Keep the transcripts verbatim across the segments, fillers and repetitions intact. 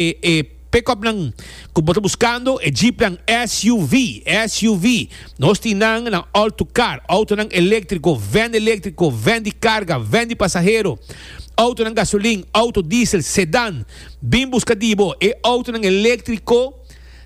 E pick-up nan ku bo ta buskando, e Jeep nan S U V, S U V. Nos tin nan na All to Car, outo nan eléktriko, van eléktriko, van di karga, van di pasahero, outo nan gasolin, outo diesel, sedan. Bin buska di bo, e outo nan eléktriko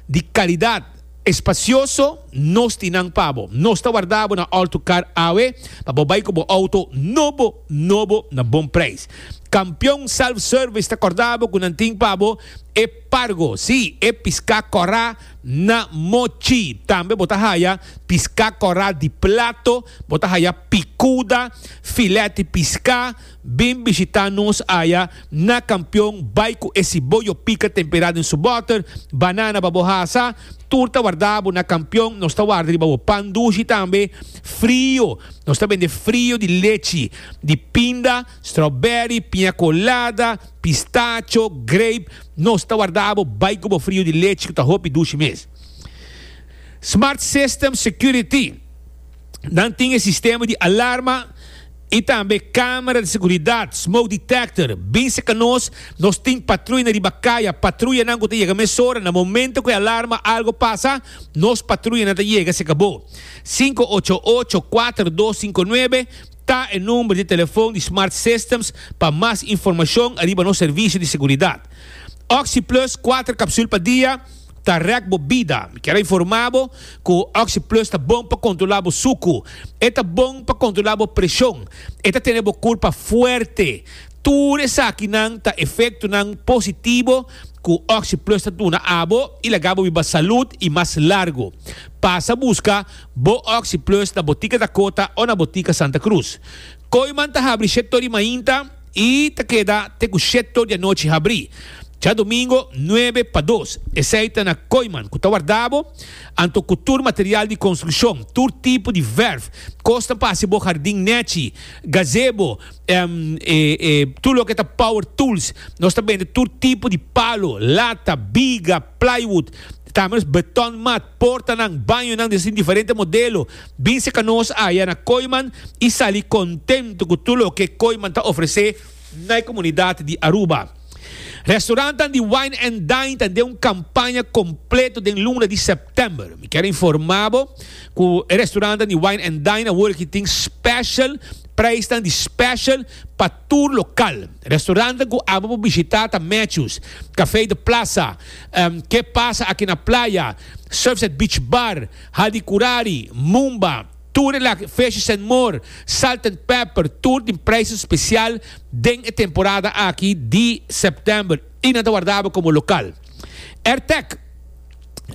di kalidat, espasioso, nos tin nan pa bo. Nos ta warda bo na All to Car awe, pa bo bai ku bo outo nobo, nobo na bon preis. Kampeon Self-Service ta kòrda bo ku nan tin pa bo e pargo, si, e piská kòrá na mochi. Tambe bo ta haya piská kòrá di plato, bo ta haya picuda, filete piská. Bin bishitá nos aya na Kampeon, bai ku e siboyo pika temperá den su bòter, banana pa bo hasa, tur ta warda bo na Kampeon. Nos ta warda riba bo pan dushi tambe, frio. Nos ta bende frio di lechi, di pinda, strawberry, piña colada, pistacho, grape. Nos ta warda bo, bai ku bo frio di lechi, ku ta hopi dushi mes. Smart System Security. Nan tin sistema di alarma i tambe kamera di seguridat, smoke detector. Bin serka nos, nos tin patruya riba kaya, patruya nan ku yega mesora, na momento ku e alarma, algu pasa, nos patruya nan yega, se akabó. sinku ocho ocho, kuater dos sinku nuebe ta e number di telefòn di Smart Systems pa mas informashon riba nos servisio di seguridat. OxyPlus, kuater kapsul pa dia, ta rèk bo bida. Ke informá bo ku OxyPlus ta bon pa kontrolá e suku. E ta bon pa kontrolá e preshon. E ta tene bo kurpa fuerte. Tur esakinan ta efektonan positivo ku OxyPlus ta duna abo i laga bo biba salú i mas largu. Pasa buska bo OxyPlus na Botika Dakota òf na Botika Santa Cruz. Kooyman ta habri shete or di mainta i ta keda te ku shete or di anochi habri. Djadumingu, nuebe pa dos. Esei ta na Kooyman, ku ta warda bo, anto ku tur material di konstrukshon, tur tipo di verf, kos pa hasi bo hardin nechi, gazebo, um, e, e, tur loke ta power tools, nos ta bende tur tipo di palo, lata, biga, plywood, tambe beton mat, portanan, bañonan di diferente modelo. Bin serka nos aya na Kooyman i sali kontentu ku tur loke Kooyman ta ofresé na komunidat di Aruba. Restaurant di Wine and Dine tin un kampaña kompleto den luna di sèptèmber. Mi ke informá ku e restaurant di Wine and Dine awor ku tin special prijs di special pa tur lokal. Restaurant ku abo por bishitá ta Matthews, Café de Plaza, um, Que Pasa aki na Playa, Surfside Beach Bar, Hadicurari, Mumba, tur la Fishes and More, Salt and Pepper, tur tin prijs spesial den e temporada aki di sèptèmber. I nan ta warda bo komo lokal. AirTech,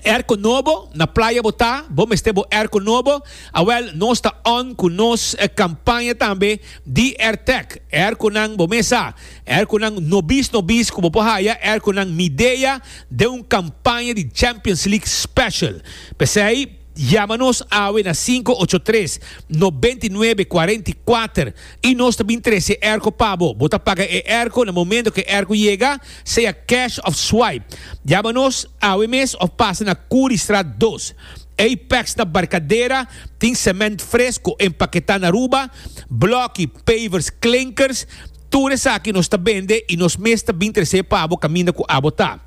airco nobo, na Playa bo ta, bo mester bo airco nobo, awel, nos ta on ku nos eh, kampaña tambe di AirTech. Airco nan bo mesa, airco nan nobis nobis ku bo por haya, airco nan Midea den un kampaña di Champions League special. P'esei, yama nos awe na sinku ocho tres nobenta i nuebe kuarenta i kuater i nos tambe trese airco pa bo. Bo ta paga e airco na momento ku e airco yega, sea cash òf swipe. Yama nos awe mes òf pasa na Curistraat dos. Apex na Barcadera tin cement fresco empaketá na Aruba, bloki, pavers, klinkers, tur esaki nos ta bende i nos mes ta bin trese pa bo kaminda ku abo ta.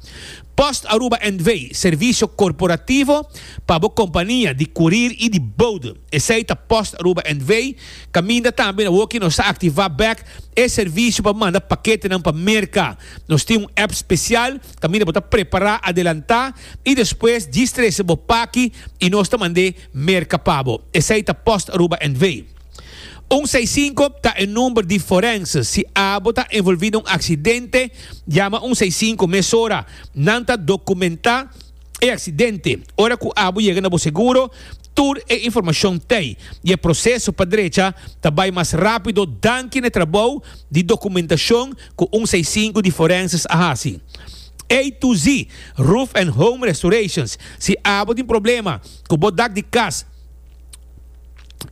Post Aruba N V, servisio korporativo pa bo kompania di courier i di bode. Esei ta Post Aruba N V, kaminda tambe awor ku nos ta aktivá back e servisio pa manda paketenan pa Merka. Nos tin un app spesial, kaminda bo ta prepará, adelantá i despues djis trese bo paki i nos ta mand'é Merka pa bo. Esei ta Post Aruba N V. un seis sinku ta e number di forense. Si abo ta envolví den un aksidente, yama un seis sinku mesora. Nan ta dokumentá e aksidente. Ora ku abo yega na bo seguro, tur e informashon t'ei. I e proseso pa drecha ta bai mas rápido danki na trabou di dokumentashon ku un seis sinku di forenses a hasi. A to Z, Roof and Home Restorations. Si abo tin problema ku bo dak di kas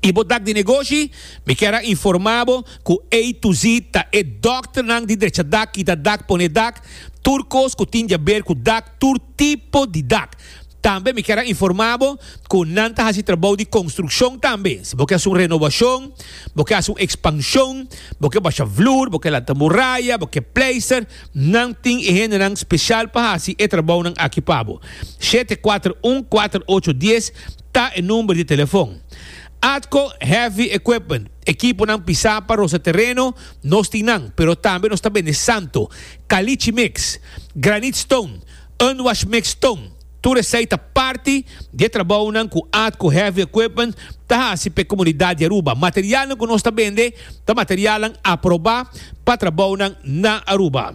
i bo dak di negoshi, mi ke informá bo ku A to Z ta e dòkternan di drecha dak, kita dak, pone dak, tur kos ku tin di aber ku dak, tur tipo di dak. Tambe mi kier a informa bo cu nan ta haci trabou di construccion tambe. Si bo ke haci un renovacion, bo ke haci un expansion, bo ke basha vloer, bo ke lanta muraya, bo ke pleister, nan tin e hendenan special pa haci e trabounan aki pa bo. Shete kuater un kuater ocho dies ta e number di telefon. Atco Heavy Equipment, ekiponan pisa pa rosa tereno, nos tin nan, pero tambe nos ta bende santo, caliche mix, granite stone, unwash mix stone. Tur esei ta parti di e trabounan ku Atco Heavy Equipment ta hasi pa e komunidat di Aruba. Materialnan ku nos ta bende ta materialnan aprobá pa trabounan na Aruba.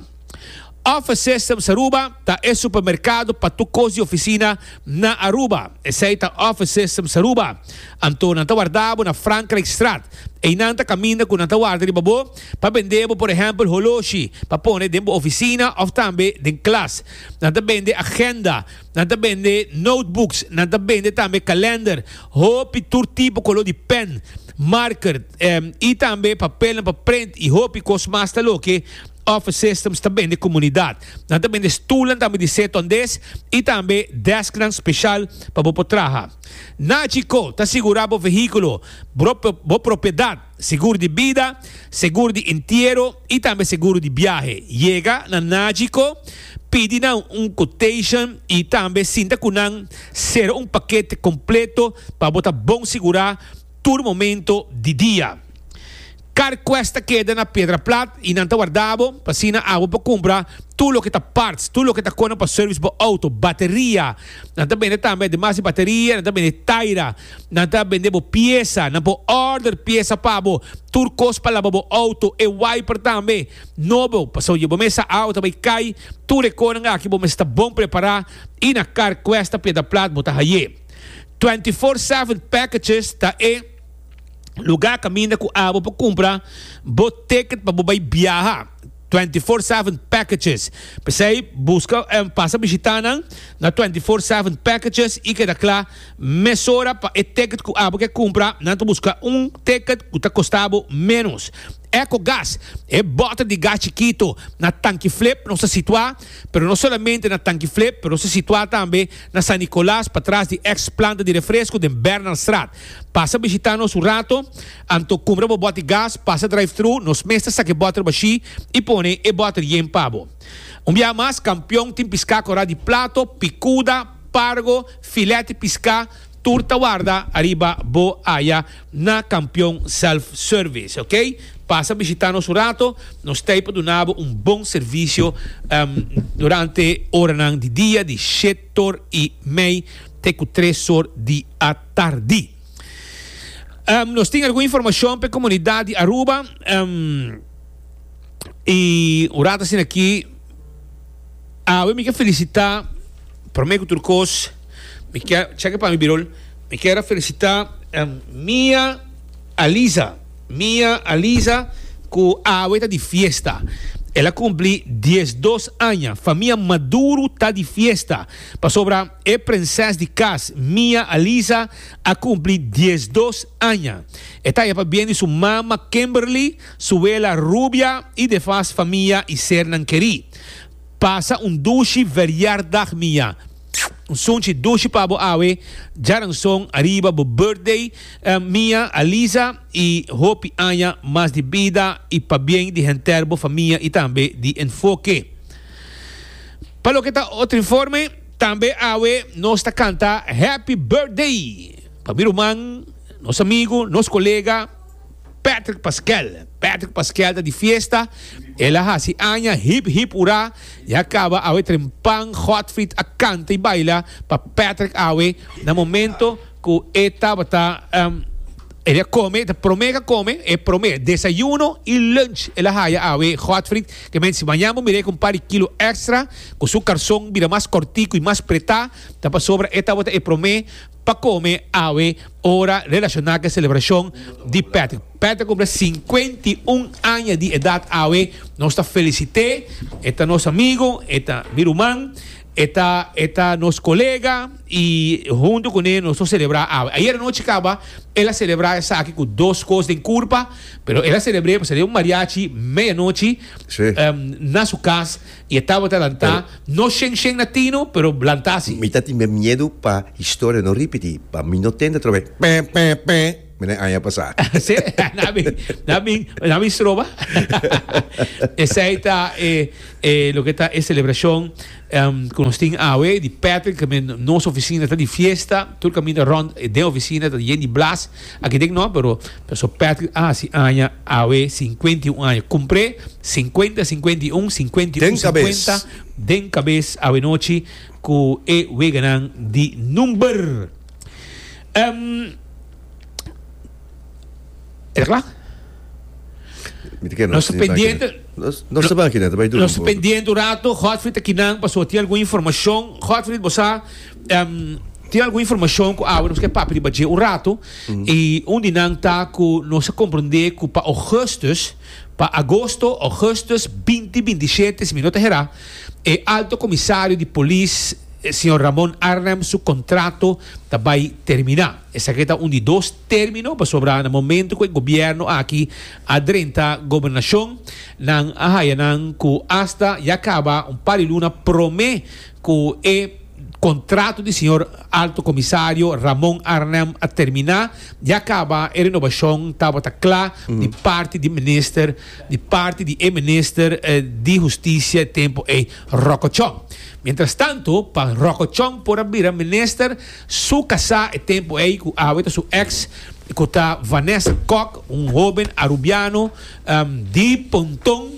Office Systems Aruba ta e supermerkado pa tur kos di ofisina na Aruba. Esei ta Office Systems Aruba. Anto nan ta warda bo na Frankrijkstraat. Einan ta kaminda ku nan ta warda riba bo pa bende bo por ehèmpel holoshi pa pone den bo ofisina òf tambe den klas. Nan ta bende agenda, nan ta bende notebooks, nan ta bende tambe kalender, hopi tur tipo koló di pen, marker i tambe papelnan pa print i hopi kos mas ta loke Office Systems ta bende komunidat. Nan ta bende stulnan tambe di setondes i tambe desknan speshal pa bo por traha. Nagico ta sigurá bo vehíkulo, bo propiedat, seguro di bida, seguro di entiero i tambe seguro di biahe. Yega na Nagico, pidi nan un quotation i tambe sinta ku nan sera un pakete kompleto pa bo ta bon sigurá tur momento di dia. Carquest ta keda na Piedra Plat y nan ta warda bo pa asina abo por cumpra tur loke ta parts, tur loke ta cona pa service bo auto, bateria, nan ta bende tambe ademas di bateria nan ta bende taira, nan ta bende bo pieza, nan por order pieza pa bo, tur cos pa laba bo auto, e wiper tambe nobo, pasobra bo mes sa auto ta bay cay, tur e conan aki bo mes ta bon prepara y na Carquest ta Piedra Plat bo ta haye. Twenty four seven packages ta e. Lugar caminda cu abo por cumpra bo ticket pa bo bay biaha. Twenty four seven packages. P'esey busca pasa bishita nan na twenty four seven packages y keda cla mesora pa e ticket cu abo ke cumpra. Nan ta busca un ticket cu ta costa bo menos. Ecogas, e boter di gas chikito na Tanki Flip nos ta situa, pero no solamente na Tanki Flip, pero nos ta situa tambe na San Nicolas patras di ex planta di refresco den Bernardstraat. Pasa bishita nos un rato, anto cumpra bo bot di gas, pasa drive thru, nos mes ta saca e boter bashi y pone e boter yen pa bo. Un biaha mas, Campeon tin pisca cora di plato, picuda, pargo, filet di pisca, Tur ta warda ariba bo aya na Campeon Self Service, ok? Pasa bishita nos un rato, nos ta ei pa duna bo un bon servicio durante oranan di dia di shetor y mei te cu tres or di atardi. Nos tin algun informacion pa e comunidad di Aruba y un rato asina aki awe mi ke felicita prome cu tur cos. Mi kier, cheke pa mi Birol, mi kier a felicita Mia Aliza, Mia Aliza cu awe ta di fiesta. El a cumpli diesdos aña. Famia Maduro ta di fiesta pasobra e prinses di cas Mia Aliza a cumpli diesdos aña. E ta haya pabien di su mama Kimberly, su wela Rubia y defas famia y sernan keri. Pasa un dushi verjaardag Mia. Un sunchi dushi pa bo awe djaranson ariba bo birthday Mia, Alisa y hopi aña mas di bida y pabien di henter bo famia y tambe di Enfoke. Pa loke ta otro informe, tambe awe nos ta canta Happy Birthday pa mi ruman, nos amigo, nos colega, Patrick Paskel. Patrick Paskel ta di fiesta. El a hasi aña hip hip hurá. Ya caba awe trempan Godfried a canta y baila pa Patrick awe na momento cu e tabata el a come, ta prome cu a come, e prome desayuno y lunch el a haya awe Godfried ke men si mañan bo mir'é cu un par di kilo extra cu su carson bira mas cortico y mas pretá ta pasobra e tabata e prome Pa kome awe ora relashoná ku e selebrashon di Patrick. Patrick kumpli sinkuenta i un aña di edat awe. Nos ta felisit'é. E ta nos amigu, e ta mi ruman, e ta e ta nos kolega i huntu kuné nos ta selebrá awe. Ayer anochi kaba el a selebrá esaki ku dos kos den kurpa, pero el a selebr'é pasobra den un mariachi meianochi na su kas. I e tabata lantá, no shen shen na tino, pero lantá si. Mi ta tin miedu pa historia no ripití, pa mi no tende atrobe pè pè pè mene aña pasá. Sí, nan bin, nan bin, nan bin stroba. Esei ta e, e loke ta e selebrashon ku nos tin awe di Patrick, ke men nos ofisina ta di fiesta, tur kaminda rònt den ofisina ta yen di blas, aki den no, pero paso Patrick a hasi aña awe sinkuenta i un aña, kumpr'é. Sinkuenta, sinkuenta i un, sinkuenta i un, Den kabes. sinkuenta den kabes awenochi ku e weganan di number. Em, e ta kla? Mi ta kere Nos nos ta tin baki pendiente. Nos, nos ta baki nan, ta bai dura Nos un ta poco. pendiente un rato. Godfried ta kinan pasobra tin algun informashon. Godfried, bo sa, em, tin algun informashon ku awe nos ke papia riba dje un rato. I un di nan ta ku nos a komprendé ku pa augustus, Pa agosto, augustus, binti binti shete, si mi no ta herá, e Alto Komisario di Polis, señor Ramon Arnhem, su kontrato ta bai terminá. Esaki ta un di dos término, pasobra na momento ku e gobièrnu aki a drenta gobernashon, nan a haya nan ku asta ya kaba un par di luna promé ku e Contrato di señor Alto Comisario Ramon Arnhem a termina, ya caba e renobacion tabata cla di parti di minister di parti di e minister di Husticia e tempo ey Rocco Chong. Mientras tanto pa Rocco Chong por a bira minister su casa e tempo ey cu awe ta su ex cu ta Vanessa Kok un hoben Arubiano di Ponton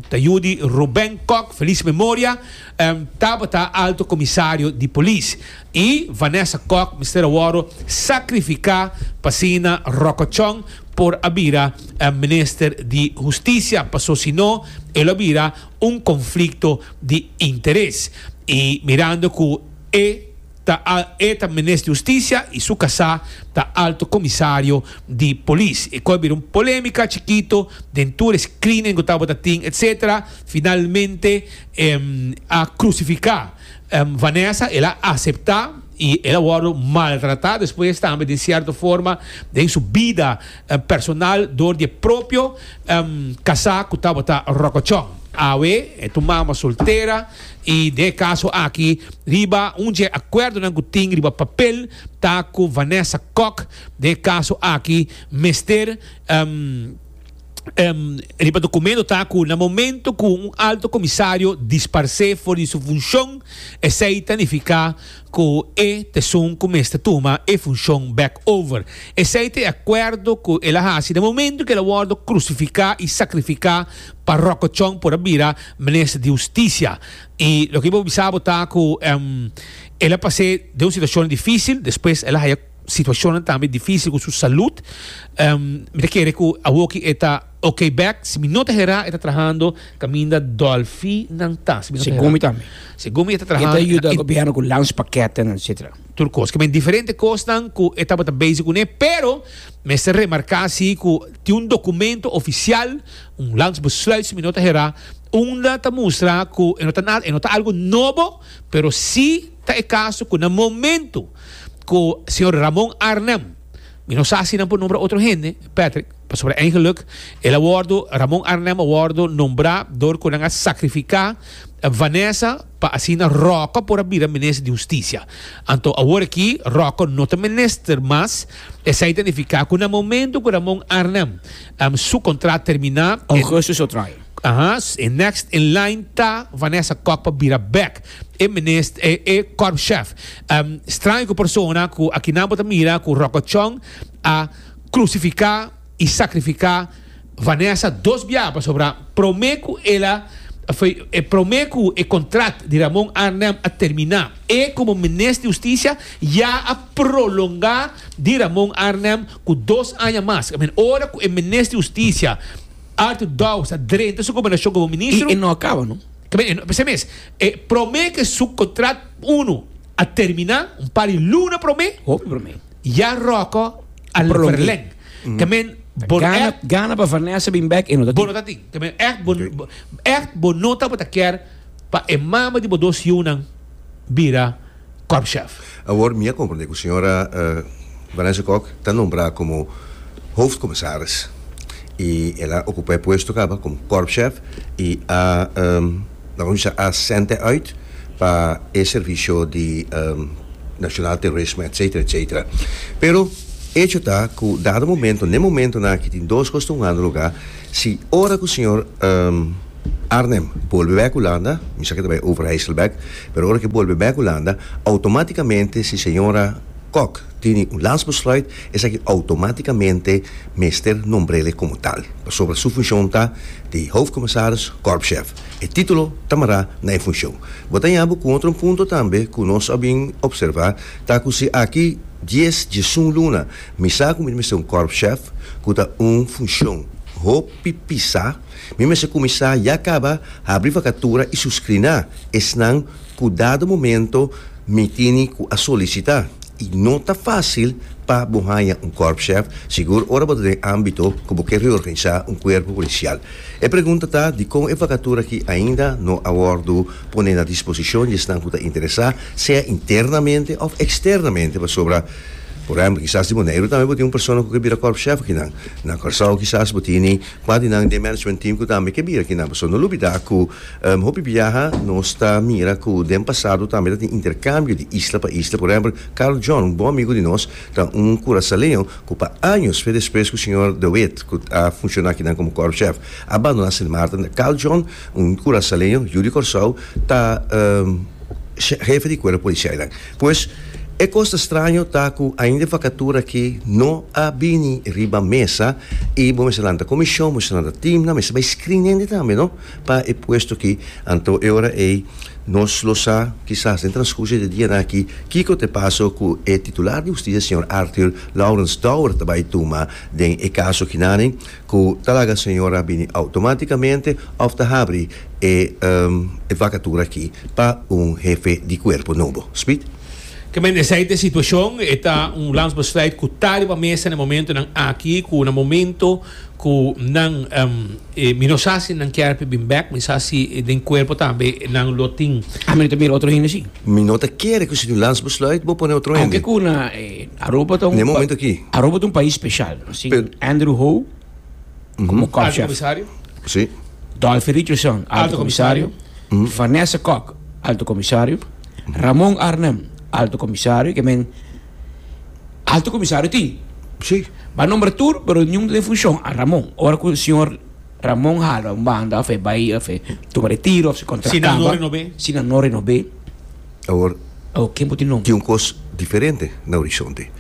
ta yu di Ruben Kok feliz memoria tabata Alto Comisario di Polis y Vanessa Kok mester a worde sacrifica pa asina Rocco Chong por a bira Minister di Husticia paso si no e lo a bira un conflicto di interes y mirando cu e Ta e ta Minister di Husticia y su casá ta Alto Comisario di Polis. E coe bira un polemica chikito den tur e screening cu tabata tin etc. Finalmente a crucifica Vanessa, el a acepta y el a wordo maltrata despues tambe den cierto forma den su bida personal door di e propio casá cu tabata Rocochon. Awe e ta un mama soltera y den e caso aki riba un dje acuerdonan cu tin riba papel ta cu Vanessa Kok den e caso aki mester riba documento ta cu na momento cu un alto comisario disparce for di su funcion esey ta nifica cu e ta esun cu mester tuma e funcion bek over. Esey ta e acuerdo cu el a haci na momento cu el a wordo crucifica y sacrifica pa Rocco Chong por a bira Minister di Husticia. Y loke mi por bisa bo ta cu el a pas'e den un situacion dificil, despues el a haya situacionnan tambe dificil cu su salud. Mi ta kere cu awoki e ta ok bek. Si mi no ta hera e ta trahando caminda Dolfi nan ta. Si mi no ta hera. Segun mi tambe. Segun mi e ta trahando. E ta yuda gobierno cu landspaketten etcetera. Tur cos. Ke men diferente cosnan cu e tabata bezig cune, pero mester remarca si cu tin un documento oficial, un landsbesluit si mi no ta hera, unda ta mustra cu e no ta nada, e no ta algo nobo, pero si ta e caso cu na momento cu señor Ramon Arnhem, mi no sa si nan por nombra otro hende, Patrick, pasobra eigenlijk el a wordo, Ramon Arnhem a wordo nombra door cu nan a sacrifica Vanessa pa asina Rocco por a bira minister di Husticia. Anto awor aki Rocco no ta minister mas, esey ta nifica cu na momento cu Ramon Arnhem su contrat termina, Augustus lo trae. Aha, e next in line ta Vanessa Kok pa bira bek e minist e e korpschef. Straño ku persona ku akinan bo ta mira ku Rocco Chong a krusifiká i sakrifiká Vanessa dos biaha pasobra promé ku el a e promé ku e kontrat di Ramon Arnhem a terminá e komo minist di hustisia ya a prolongá di Ramon Arnhem ku dos aña mas. Ora ku e minist di hustisia Arthur Dowers a drenta su gobernashon komo ministro. I e no a kaba, no? Kaba, e no, p'esei mes, e promé ke su kontrat unu a A termina un par di luna prome. Hopi prome. Ya Rocco a Prolong'é. Verleng. Ke men bo Gana, echt gana pa Vanessa bin back e no ta bo no ta tin. Ke men echt bo echt bo no tabata kier pa e mama di bo dos yiunan bira korpschef. Awor mi a comprende cu señora uh, Vanessa Kok ta nombra como hoofdcommissaris. Y el a ocupa e puesto caba como korpschef y a um, laga nos a zend uit pa e servicio di um, nacional terrorismo, et cetera et cetera. Pero hecho ta cu dado momento, na momento na cu tin dos cos tumando lugar, si ora cu señor um, Arnhem bolbe back Hulanda, mi sa cu bay Overijssel back, pero ora cu bolbe back Hulanda, automaticamente si señora Kok tin un landsbesluit, esaki automaticamente mester nombr'e como tal. Sobre su funcion ta di hoofdcommissaris, korpschef. E titulo ta mara na e funcion. Bo ta haya cu otro punto tambe cu nos a bin observa, ta cu si aki dies, diesun luna, mi sa cu mi mester un korpschef, cu ta un funcion hopi pisa, mi mester cuminsa ya caba, habri vacatura y suscrina, esnan cu dado momento mi tini cu a solicita. Y no ta facil pa bo haya un korpschef, sigur ora bo den ambito cu bo kier reorganisa un cuerpo policial. E pregunta ta di con e vacatura aki ainda no a wordo poni na disposicion di esnan cu ta interesa, sea internamente of externamente, pasobra por ehempel, kisas di Boneiru tambe bo tin un persona cu kier bira korpschef akinan. Na Corsou kisas bo tin cuadro nan di management team cu tambe kier bira akinan. So no lubida cu um, hopi biaha nos ta mira cu den pasado tambe tin intercambio di isla pa isla. Por ehempel, Carl John, un bon amigo di nos, ta un curaçaoleño cu pa aña despues cu señor De Wit, cu a funciona akinan como korpschef, a bandona Sint Maarten. Carl John, un curaçaoleño, yiu di Corsou, ta um, hefe di cuerpo policial. Pues, e cos straño ta cu ainda vacatura aki no a bini riba mesa y bo mester lanta comision, mester lanta team, na mester bay screening tambe, no? Pa e puesto aki, anto e ora e nos lo sa, kisas den transcurso di dia aki, kico ta pasa cu e titular di husticia, señor Arthur Lawrence Dowers, ta bay tuma den e caso akinan, cu ta laga señora bini automaticamente of ta habri e, um, e vacatura aki pa un hefe di cuerpo nobo. Speed? Ke men esey ta e situacion, ta un landsbesluit cu ta riba mesa na momentonan aki, cu na momento cu nan um, eh, mi no sa si nan kier bin back, mi sa si den cuerpo tambe nan lo tin. Ah, mi tambe otro hende si. Mi no ta kere cu si un landsbesluit bo pone otro Aunque hende. cu na eh, Aruba ta un Na momento aki. Aruba ta un pais special. Asina, Pero- Andrew Ho como Alto korpschef. comisario. Si. Dolphy Richardson, alto Alto comisario. Vanessa Kok, alto comisario. Ramon Arnhem, alto comisario. Ke men alto comisario tin. Si. B'a nombra tur, pero ningun den funcion. A Ramon. Ora cu señor Ramon hala un banda, of bay, of tuma retiro, of su contrato. Si nan no renob'e. Si nan no renob'e. Awor, Oh, ken por tin nomber? tin un cos diferente na horizonte.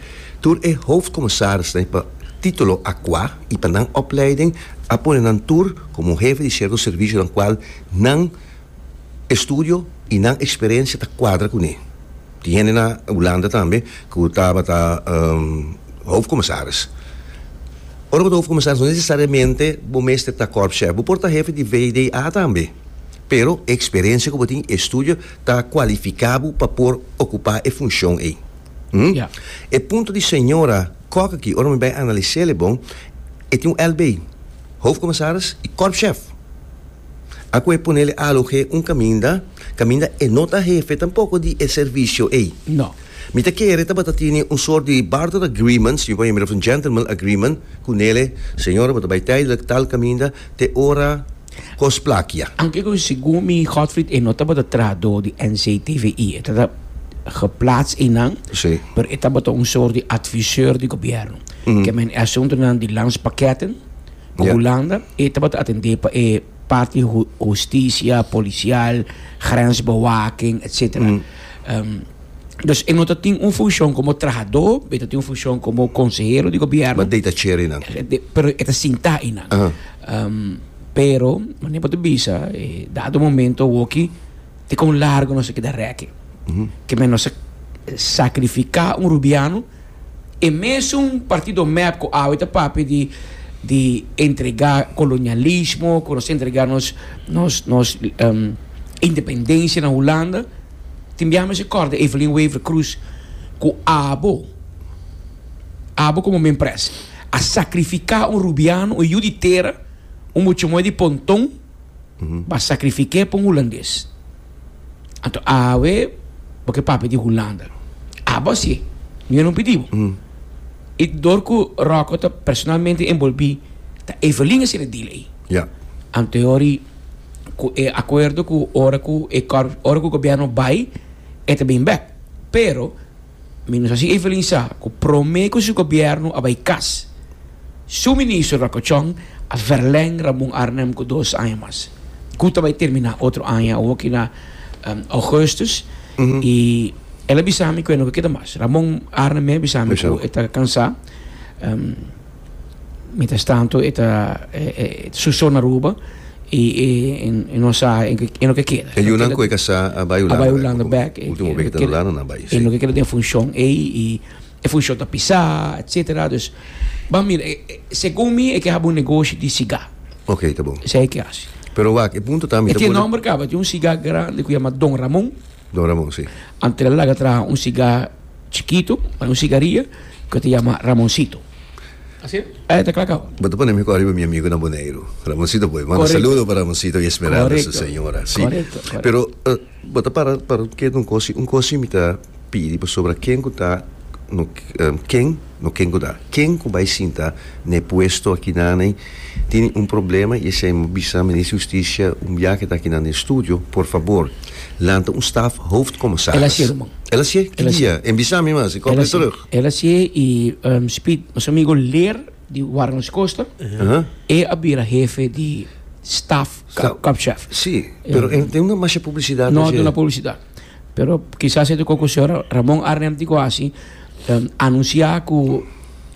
Tur e hoofdcommissaris ne, pa titulo aqua y pa nan opleiding a pone nan tur como hefe di cierto servicio den cual nan estudio y nan experiencia ta cuadra cu ne. Tin hende na Hulanda tambe cu tabata um, hoofdcommissaris. Ora, e hoofdcommissaris no necesariamente bo mester ta korpschef, bo por ta hefe di V D A tambe. Pero experiencia cu tin, estudio, ta cualifica bo pa por ocupa e funcion ey. Hum? Ja. E punto di señora Kok aki, ora mi bay analisa bon, e tin un L B, hoofdcommissaris y korpschef. Aki e ponele aloge un caminda, caminda e no ta hefe tampoco di e servicio ey. No. Mi ta kere tabata tin un soort di barter agreement, si je of een gentleman agreement, cu nele, señora, bo ta bay tijdelijk tal caminda, te ora cos plakia. Aunque cu segun mi Godfried e no tabata trahado di N C T V I, e tabata geplaatst in Si. pero e tabata un soort di adviseur di gobierno. Mm. Ke men asuntonan di landspakketten, Ja. Hulanda, e tabata atende pa e parti hu husticia, policial, grensbewaking, et cetera. Mm. Um, dus e no tin un funcion como trahado, e tin un funcion como consehero di gobierno. Ma detacheren dan. De, pero e ta sinta einan. Aha. Um, pero, manera bo ta bisa, eh, dado momento, woki, te con largo nos a keda rek. Ke men nos a sacrifica un rubiano e mesmo partido MEP cu awe ta papia di di entrega colonialismo, cu nos entrega nos nos nos um, independencia na Hulanda. Tin biaha mester corda Evelyn Wever Croes cu abo, abo como Minpres, a sacrifica un Rubiano, un yiu di tera, un mucha muhe di Ponton, pa sacrifique pa un Hulandes. Anto awe bo ke papia di Hulanda. Abo hacié, mi no pidi bo. Y door cu Rocco ta personalmente envolvi, ta Evelyn a haci e deal ey. Ja. Anto e ora cu e acuerdo cu ora cu e cor, ora cu gobierno bay, e ta bin bek. Pero mi no sa si Evelyn sa cu prome cu su gobierno a bay cas, su ministro Rocco Tjong a verleng Ramon Arnhem cu dos aña mas. Cu ta bay termina otro aña, awo aki na um, augustus. Y el a bisa mi cu e no keda mas. Ramon Arnhem a bisa mi cu e ta cansa. Um, mientras tanto, e ta eh, eh, su so na Aruba y, y, y, no sa en e no ke keda. E yunan cu e casa a bay A Hulanda. bay Hulanda bek. Ultimo week ta Hulanda na bay. E no ke keda den funcion ey y e funcion ta pisa, etcétera. Dus, ban mira, eh, eh, segun mi, e ke habri un negoshi di siga. Ok, ta bon. Esey e ke haci. Pero wak, e punto tambe. E tin nomber caba, tin un siga grandi cu yama Don Ramon. Don Ramon, si. Anto el a laga traha un siga chikito, un sigaria, cu ta yama Ramoncito. Asina? Eh, ta cla caba. Bo ta pone mi riba mi amigo na Boneiro. Ramoncito, pues. Manda Correcto. saludo pa Ramoncito y Esmeralda, su Correcto. señora. Si. Correcto, correcto. Pero, uh, bo ta para, para cu un cos, un cos mi ta pidi sobre ken cu ta no, um, ken, no ken cu ta, ken cu bay sinta na puesto aki na tin un problema y esey mi a bisa minister di Husticia un biaha ta aki na studio, por fabor, lanta un staf hoofdcommissaris. El a haci, ruman. El a haci? El a haci. Dia? En bisa mi mas, ik kom El a weer terug. El a haci y um, Speed, nos amigo Leer di Warnos Costa, Uh-huh. e a bira hefe di staf, Staf. korpschef. Si, pero tin un mas publicidad. No di duna publicidad. Pero kisas e cu señor Ramon Arnhem di quasi um, anuncia cu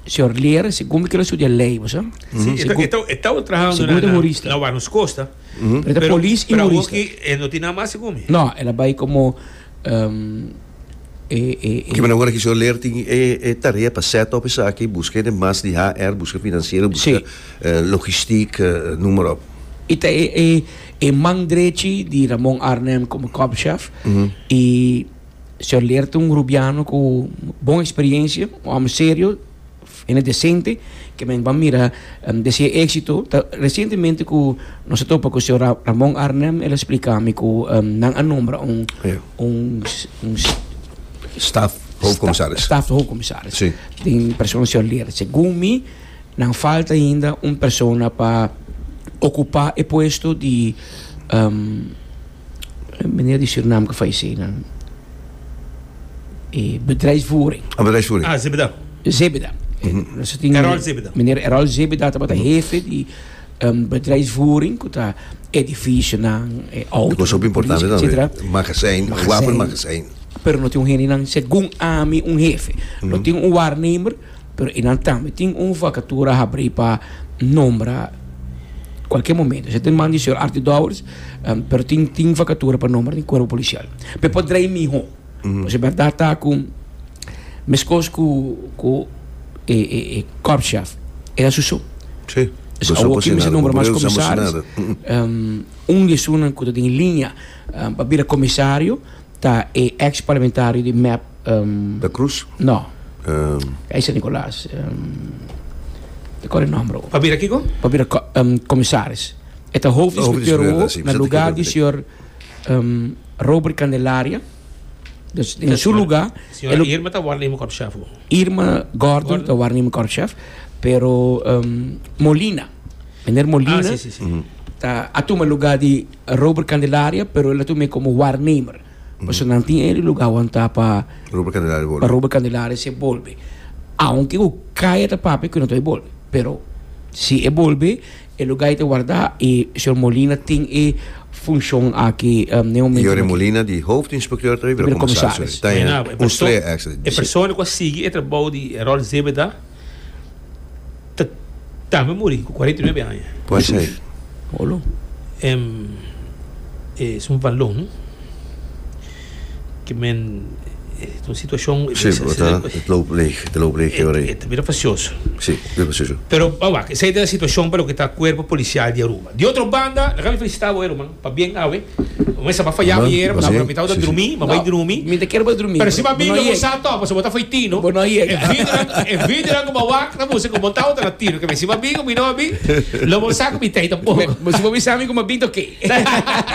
señor Leer, segun cu el a studia ley, bo sa? Si, Segun- e tabata trahando Segun na, na, jurista. na Warnos Costa. Pero ta polis y pero jurista. aki eh, no tin nada mas segun mi. No, el a bay como um, eh, eh, Cu men awor cu señor Leer tin e, e tarea pa set up esaki, busca di mas di H R, busca financiero, busca Si. eh, logistiek, eh, noem maar op. E ta e, e, e man drechi di Ramon Arnhem como korpschef. Y señor Leer ta un rubiano cu bon experiencia, un homber serio, y decente, cu men ban mira um, di exito. Ta, recientemente cu nos a topa cu señor Ra- Ramon Arnhem, el a splica mi cu um, nan a nombra un, Ja. un, un Staf, hoofdcommissaris. Staf hoofdcommissaris. Si. Tin persona señor Leer. Segun mi, nan falta ainda un persona pa ocupa e puesto di um, meneer di Suriname cu fayece, nan, eh, bedrijfsvoering. Ah, bedrijfsvoering. Ah, Zebeda. Zebeda. Mm -hmm. Errol Zebeda. Meneer Errol Zebeda tabata hefe di um, bedrijfsvoering, cu ta edificio nan, eh, auto, Dat was ook importante politie, dan. etcétera. Magazijn, Magazijn. Wapenmagazijn. Pero no tin un hende segun ami un hefe. No tin un waarnemer, pero nan tambe tin un vacatura habri pa nombra cualkier momento. Bo tin man di señor Arthur Dowers, um, pero tin tin vacatura pa nombra den cuerpo policial. Pero por draai miho. Mm -hmm. Berdad ta cu mescos cu cu e e e korpschef era su so. Si. Dus awor aki mester nombra mas commissaris. Um, un di esunnan cu tin liña um, pa bira comisario ta e ex-parlamentario di M E P um, Da Cruz? No, Um, ey San Nicolas. Um, ta core e nomber. Pa bira kico? Pa bira co- um, commissaris. E ta hoofdinspecteur Hoofdinspecteur, si, na lugar di dat señor um, Robert Candelaria. Dus den su lugar, Señora el- Irma ta waarnemer korpschef. Irma Gordon, Gordon. ta waarnemer korpschef, pero um, Molina, meneer Molina, Ah, si, si, si. ta a tuma lugar di Robert Candelaria, pero el a tuma como waarnemer. Mm. Paso nan tin e lugar wanta pa Robert Candelaria pa bolbe. Robert Candelaria si bolbe. Aunke e caya ta papia cu no ta bolbe, pero si e bolbe, e lugar ta warda y señor Molina tin e funcion aki um, na momento. Jore Molina, di hoofdinspecteur, ta Bira bira commissaris. commissaris. Ta Nou, un e perso- streer E persona cu a sigui e trabou di Errol Zebeda ta tambe a muri cu cuarenta y nuebe aña. Por ser. Olo. Um, e un balon cu men un situacion Si, ta, het loopt leeg, het loopt leeg, Jore. E ta bira fastioso. Si, precies. Pero, wak, esey ta e situacion pa loke ta cuerpo policial di Aruba. Di otro banda, laga mi felicita bo, ruman, pabien awe. Mas a faya ayera, mas mi tawata drumi, m'a bay drumi. Mi ta kier bay drumi. Pero si m'a bin, lo sa to, pasobra bo ta fo'i tino. Bo no yega. E videonan, e videonan ku m'a wak, ta mustra ku bo tawata na tino. Ke men si m'a bin ku mi no a bin, lo bo sa ku mi tei tampoko. Bo si bo bisa mi ku m'a bin ta oké.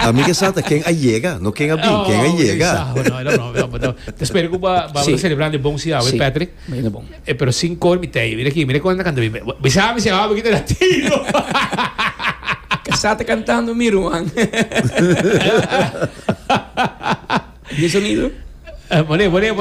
Ami ke sa ta ken a yega, no ken a bin, ken a yega. Oh, no, no, no, no. Ta spera ku ba ba selebrando e bon si awe, Patrick. Bayendo bon. Eh, pero sin kor mi tei. Mira aki, mira kon nan ta kanta. Bisa mi si awe ki ta na tino. Casá ta cantando mi ruman. Di sonido. Bone, bone.